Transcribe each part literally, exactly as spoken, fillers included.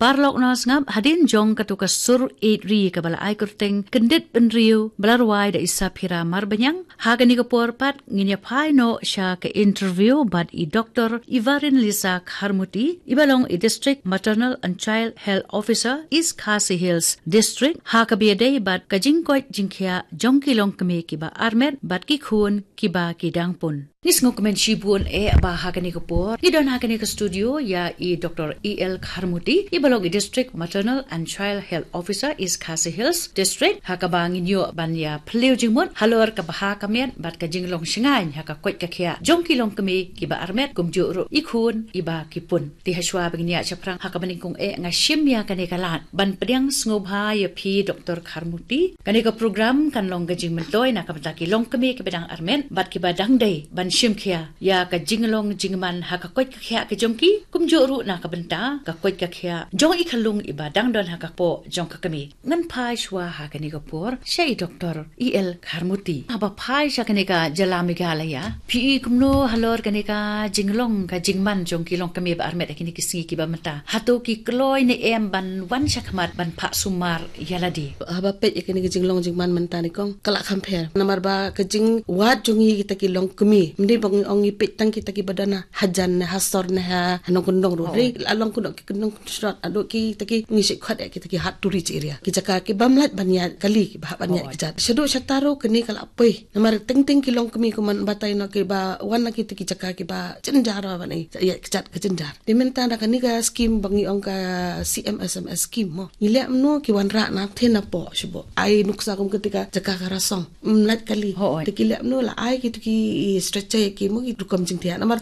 Paralok nongsngap, hadien jong katu ka sur ïeit ri kaba la ai kyrteng Kyndit Bynriew ba la rwai da i Saphira Marbaniang, ha kane ka por pat ngin ïa phai noh sha ka interview bad i Doctor Ivarin Lisa Kharmuti, iba long i District Maternal and Child Health Officer, East Khasi Hills District, ha kaba ïadei bad ka jingkoit jingkhiah jong ki longkmie kiba armet bad ki khun kiba ki dang pun. Ngi sngewkmen shibun eh ba ha kane ka por ngi don ha kane ka studio ïa i Doctor E L Kharmuti, iba long i District Maternal and Child Health Officer, East Khasi Hills District, ha kaba ngin ïoh ban ïa phylliew jingmut halor ka bha ka miat bad ka jinglong shngaiñ ha ka koit ka khiah jong ki longkmie kiba armet, kumjuh ruh i khun iba ki pun. Te hashwa ba ngin ïa shaphrang ha kaba nyngkong eh, nga shim ïa kane ka lad ban pdiang sngewbha ïa phi, Doctor Kharmuti. Kane ka program kan long ka jingmyntoi na ka bynta ki longkmie kiba dang armet bad kiba dang dei ban shim khia ïa ka jinglong jingman ha ka koit ka khiah ka jong ki, kumjuh ruh na ka bynta ka koit ka khiah jong i khyllung iba dang don ha ka kpoh jong ka kmie. Ngan phai shwa ha kane ka por sha i Doctor E L Kharmuti. Haba phai sha kane ka jylla Meghalaya, phi i kumno halor kane ka jinglong ka jingman jong ki longkmie ba armet ha kine ki sngi kiba mynta? Hato ki kloi ne em ban wan shakhmat ban phah sumar ïa lade? Haba peit ïa kane ka jinglong jingman mynta, nyngkong ka la kham pher. Namar ba ka jingwad jong ngi kita ki longkmie, ym dei ba ngi ong ngi peit tang kita kiba don ha hajan ne ha sor ne ha nongkyndong ruh. Oh. Hynrei la long kano ki kyndong kyndong, haduh kita ki, ngi shu khot ïa kita ki hard to reach area, ki jaka ki bym lah ban ïaid kali, kiba hap ban ïaid kjat. Shaduh shatar ruh kane ka la poi. Namar teng teng ki longkmie kumne batai noh kiba wan na kita ki jaka kiba jynjar, ban ïaid kjat ka jynjar. Te mynta na kane ka skim ba ngi ong ka C M S M S skim mo, ngi leh kumno ki wanrah na thei na poh shuh, ai nuksa kum kita ka jaka ka rasong, ym lah kali. Hooid. Te ki leh kumno, la ai kita ki stretcher ïa ki mo, ki rukom jingthiah. Namar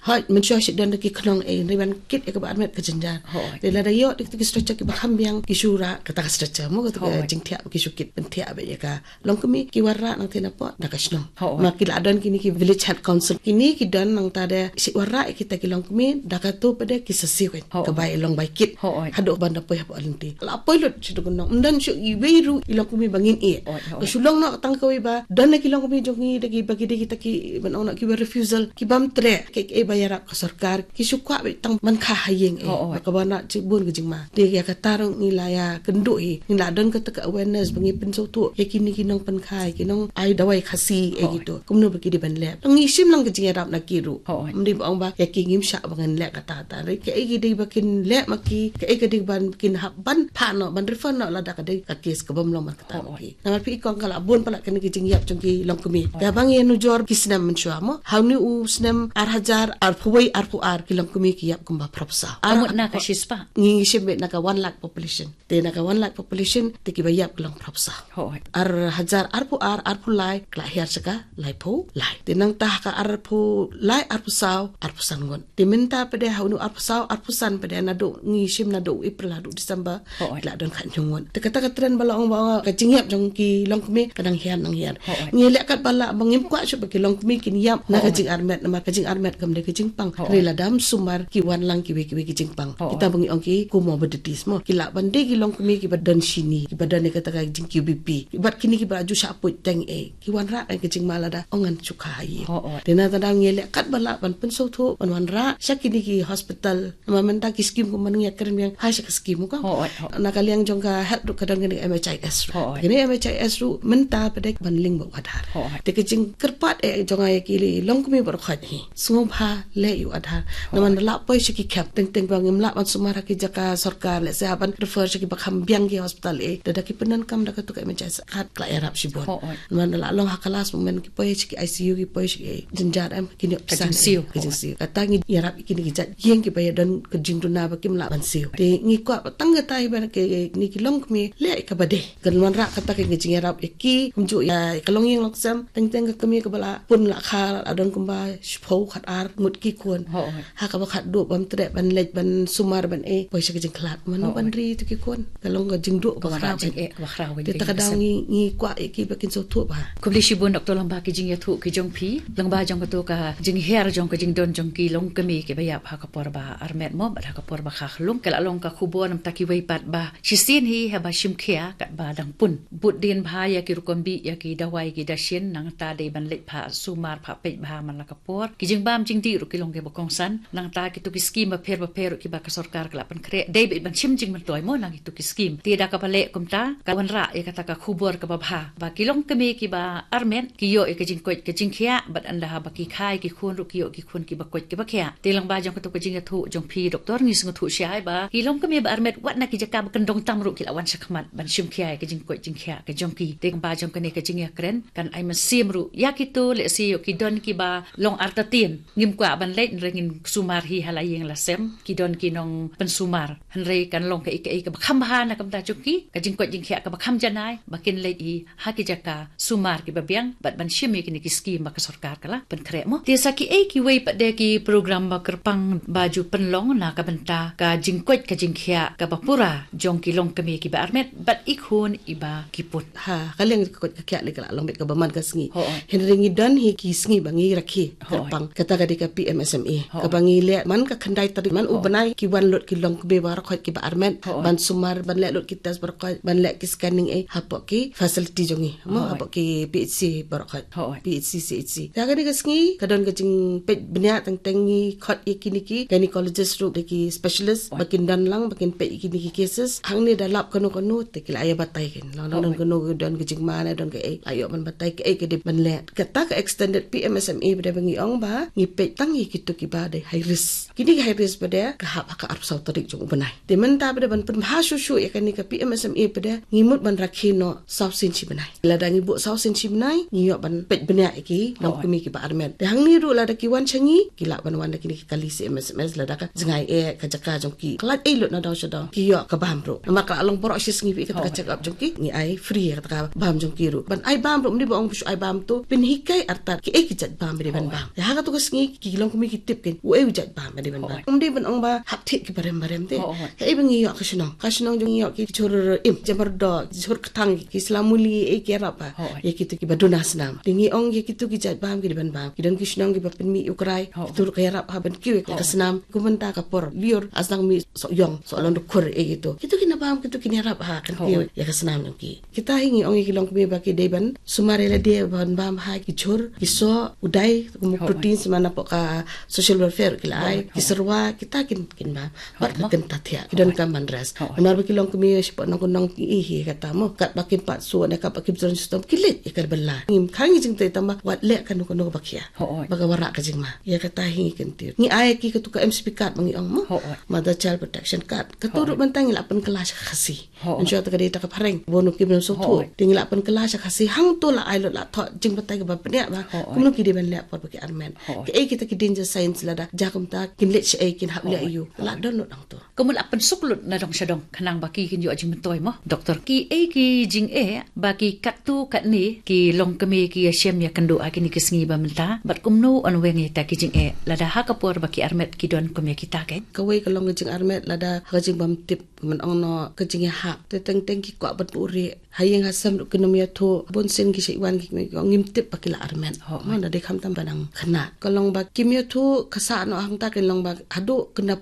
hooid, mynshuwa shu don da ki khnong, eh, hynrei ban kit ïa kaba armet ka jynjar. Hooid. Te lada ïoh da kita ki stretcher kiba kham biang, ki shu rah kata ka stretcher mo, kata ka jingthiah, ki shu kit pynthiah beit ïa ka longkmie. Ki wanrah nangta na poh da ka shnong. Hooid. Ma ki la don kine ki village health council, kine ki don nangta da shu wanrah ïa kita ki longkmie da katu pat de ki sa siew, hooid, ka bai long bai kit. Hooid. Haduh ban da poi hapoh lynti. La poi lut sha dukun nong, ym don shuh iwei ruh i longkmie ba ngin ïeh. Hooid, hooid. Ka shu long noh tang kawei ba don na ki longkmie jong ngi da kiba ki dei kita ki, ban ong noh, kiba refusal, ki bym treh. Kaei kaei ba ïarap ka sorkar, ki shu kwah beit tang ban kha ha ïing, eh. Hooid. Ba ka wanrah shibun ka jingma. Te ïa kata ruh ngi la ïa kynduh hi, ngi la don kata ka awareness ba ngi pynsngewthuh ïa kine ki nongpynkhie, ki nongai dawai Khasi, eh, hooid, kitu, kumno ba ki dei ban leh. Ngi shim lang ka jingïarap na ki ruh. Hooid. Ym dei ba ong ba ïa ki ngim shah ba ngin leh kata kata. Hynrei kaei ka dei ba kin leh ma ki, kaei ka dei ba kin hap ban phah noh, ban refer noh lada ka dei ka case ka bym long man kata. Hooid. Namar phi i kong, ka la bun palat kane ka jingïap jong ki longkmie. Hooid. Kaba ngi nujor ki snem mynshuwa mo, ha une u snem ar hajar arphew wei arphew ar, ki longkmie ki ïap kumba phraphew saw. Ar, ka mut na ka shispah? Ngi shim beit na ka one lakh population. Te na ka one lakh population te kiba ïap ki long phraphew saw. Hooid. Ar hajar arphew ar arphew lai ka la hiar sha ka laiphew lai. Te nangta ha ka arphew lai arphew saw arphew san ngut. Te mynta pat de ha une u arphew saw arphew san pat de, naduh ngi shim naduh April haduh December, hooid, ki la don khathynñiew ngut. Te kata ka trend ba la ong ba ka jingïap jong ki longkmie ka dang hiar, dang hiar. Hooid. Ngi leh katba lah ba ngim kwah shuh ba ki longkmie kin ïap na ka, hooid, jingarmet, namar ka jingarmet kam dei ka jingpang. Hooid. Hynrei lada ym sumar ki wan lang kiwei kiwei ki jingpang. Hooid. Kita ba ngi ong ki comorbidities mo, ki lah ban dei ki longkmie kiba don shini, kiba don ïa kata ka jing Q B P. Bad kine kiba ju shah poi teng, eh, ki wanrah ka jingma lada ong ngan shu kha ha ïing. Hooid. Te nangta da ngi leh katba lah ban pynsngewthuh, ban wanrah sha kine ki hospital. Namar mynta ki skim kumba ngi ïa kren biang, ha sha ka skim mo, kong. Hooid, hooid. Na ka liang jong ka health ruh ka don kane ka M H I S ruh. Hooid. Kane M H I S ruh mynta pat de ban link bad u Aadhaar. Hooid. Te ka jingkyrpad, eh, jong nga ïa ki longkmie baroh khoit hi, sngewbha leh ïa u Aadhaar. Hooid. Namar la poi sha ki camp, teng teng ba ngim lah ban sumar ha ki jaka sorkar, lehse hap ban refer sha kiba kham biang ki hospital, eh, da, da ki pyndonkam da katu ka M H I S card ka la ïarap shibun. Hooid. Namar la long ha ka last moment ki poi sha ki I C U, ki poi sha ki jynjar, em, ki ïoh pisa, ka jingsiew. Ka jingsiew. Kata ngi ïarap ïa kine ki jait ïing kiba ïa don ka jingduna ba kim lah ban siew. Te ngi kwah ba tang kata hi ba kine ki longkmie leh ïa kaba dei. Kan wanrah kata ka jingïarap ïa ki, kumjuh ïa ka longïing longsem, teng teng ka kmie kaba la pun la kha la don kumba shiphew khatar ngut ki khun. Hooid. Ha kaba khatduh bym treh ban leit ban sumar ban, eh, poi sha ka jingkhlad. Mano, hooid, ban ri tu ki khun? Ka long ka jingduh kaba khraw, jingeh kaba khraw. Te kata ka daw ngi, ngi kwah ïa ki ba kin sngewthuh bha. Khublei shibun Doctor lyngba ki jingïathuh ki jong phi, lyngba jong katu ka jinghiar jong ka jingdon jong ki longkmie kiba ïap ha ka por ba armet mo, bad ha ka por ba kha khyllung. Ka la long ka khubor namar kiwei pat ba shisien hi haba shim khia katba dang pun, bud dien bha ïa ki rukom bih, ïa ki dawai, ki dashin, nangta dei ban leit phah sumar peit bha man la ka por. Ki jingbam jingdih ruh ki long kiba kongsan. Nangta kito ki skim bapher bapher ruh kiba ka sorkar ka la pynkhreh. Dei beit ban shim jingmyntoi mo na kito ki skim. Te da kaba leh kumta, ka wanrah ïa kata ka khubor kaba bha. Ba ki longkmie kiba armet, ki ïoh ïa ka jingkoit ka jingkhiah, bad ynda haba ki kha ïa ki khun ruh ki ïoh ki khun kiba koit kiba khiah. Te lyngba jong kato ka jingïathuh jong phi, Doktor, ngi sngewthuh shai ba ki longkmie ba armet wat na ki jaka ba kyndong tam ruh ki la wan shakhmat ban shim khia ïa ka jingkoit jingkhiah ka jong ki. Te lyngba jong kane ka jingïakren, kan ai mynsiem ruh ïa kito, leh shi ïoh ki don kiba long artatien. Ngim kwah ban leit, hynrei ngin sumar hi ha la ïing la sem, ki don ki nongpynsumar. Hynrei kan long kaei kaei kaba kham bha na ka bynta jong ki, ka jingkoit jingkhiah kaba kham janai, ba kin leit hi ha ki jaka sumar kiba biang, bad ban shim ïa kine ki skim ba ka sorkar ka la pynkhreh mo. Te sa kiei kiwei pat de ki program ba kyrpang ba ju pynlong na ka bynta ka jingkoit ka jingkhiah kaba pura jong ki longkmie kiba armet, bad i khun iba ki put. Ha, ka liang ka koit ka khiah lei ka la long beit kaba man ka sngi. Hooid. Hynrei ngi don hi ki sngi ba ngi rakhe, hooid, kyrpang. Kata ka dei ka P M S M E. Hooid. Kaba ngi leh man ka khyndai tarik, man u, hooid, bnai, ki wan lut ki longkmie baroh khoit kiba armet. Hooid. Ban sumar, ban leh lut ki test baroh khoit, ban leh ki scanning, eh, hapoh ki facility jong ngi. Mo, hooid, hapoh ki P H C baroh khoit. Hooid. P H C, C H C. Te ha kane ka sngi, ka don ka jingpeit bniah teng teng ngi khot ïa kine ki gynecologist ruh, da ki specialist, hooid, ba kin don lang, ba kin peit ïa kine ki cases. Hangne da lap kano kano, te ki la ïa batai kein. Long, long, hooid, don kano, don ka jingma ne don kaei, la ïoh ban batai kaei ka dei ban leh. Kata ka extended P M S M E pat de ba ngi ong ba ngi peit tang ïa kito kiba dei high risk. Kine ki high risk pat de ka hap ha ka arphew saw tarik jong u bnai. Te mynta pat de ban pynbha shuh shuh ïa kane ka P M S M E pat de, ngi mut ban rakhe noh saw sien shi bnai. Lada ngi buh saw sien shi bnai, ngi ïoh ban peit bniah ïa ki, hooid, longkmie kiba armet. Te hangne ruh lada ki wan sha ngi, ki lah ban wan da kine ki kali C M S M S, lada ka jngai eh ka jaka jong ki, ka lait ei lut na daw sha daw, ki ïoh ka bam ruh. Namar ka la long baroh shi sngi beit kata ka, hooid, check up jong ki, ngi ai free ïa kata ka bam jong ki ruh. Ban ai bam ruh, ym dei ba ong ba shu ai bam to, pynhikai artat kiei ki jait bam ba dei ban, hooid, bam. Te ha kato ka sngi ki longkmie ki tip kein uei u jait bam ba dei ban bam. Hooid. Ym dei ban ong ba hap thied kiba rem ba rem te. Hooid. Kaei ba ngi ïoh ka shnong, ka shnong jong ngi ïoh ki jhur im, jhur mardor, jhur kthang, ki sla muli, eh, ki ïarap ha, hooid, ïa kito kiba duna snam. Te ngi ong ïa kito ki jait bam ki dei ban bam. Ki don ki shnong kiba pynmih ïa u krai, hooid, kito ruh ki ïarap ha ban kiew ïa ka, hooid, snam. Kumta ka por lyiur, ah sdang mih soh ïong, soh, hooid, long dkhur, eh, kito. Kito ki na bam, kito ki ïarap ha kan kiew, hooid, ïa ka snam jong ki. Kita hi ngi ong ïa ki longkmie ba ki dei ban sumar ïa lade ban bam ha ki jhur, ki soh, u dai, kum u, hooid, protein, sma napoh ka social welfare ki la ai, hooid, ki, hooid, syrwa, kita kin, kin bam. Bad, hooid, ka, mo, kin ta thiah, ki don, hooid, ka man rest. Hooid. Namar ba ki longkmie shapoh nong ki nong ki ih hi kata mo. Katba kim pat soh ne katba kim jrong shitom, ki leit ïa ka bylla. Ngim khang ïa jingtei tang ba wat leh kano kano ba khia, hooid, ba ka wanrah ka jingma. Ïa kata hi ngi kyntiew. Ngi ai ki katu ka M C P card ba ngi ong mo. Hooid. Mother Child Protection Card. Katu ruh, hooid, mynta ngi la pynkylla sha ka Khasi. Hooid. Ym shu ta ka dei ta ka phareng, bun u kim nym sngewthuh. Hooid. Te ngi la pynkylla sha ka Khasi, hangto la ai lut, la thoh jingbatai kaba bniah ba, hooid, kumno ki dei ban leh por ba ki armet. Hooid. Kaei kita ki danger signs, lada jia kumta kin leit shaei, kin hap leh, hooid, aiu. La, hooid, don lut hangto. Kumno la pynsuk lut na dong sha dong khnang ba ki kin ïoh jingmyntoi mo, Doktor? Kiei ki jingeh ba ki katto katne ki longkmie ki ïashem ïakynduh ha kine ki sngi ba mynta, bad kumno yn weng ïa kita ki jingeh lada ha ka por ba ki armet ki don kum ïa kita kein? Kawei ka long ka jingarmet lada ha ka jingbymtip, kumno ong noh, ka jingïahap. Te teng teng ki kwah ban buhrieh. Ha ïing ha sem ruh kin ym ïathuh. Bun sien ki shait wan ki, ki ong ngim tip ba ki la armet. Hooid. Mo, da dei khamtam ba dang khynnah. Ka long ba kim ïathuh, ka sah noh hangta, ka long ba haduh khynnah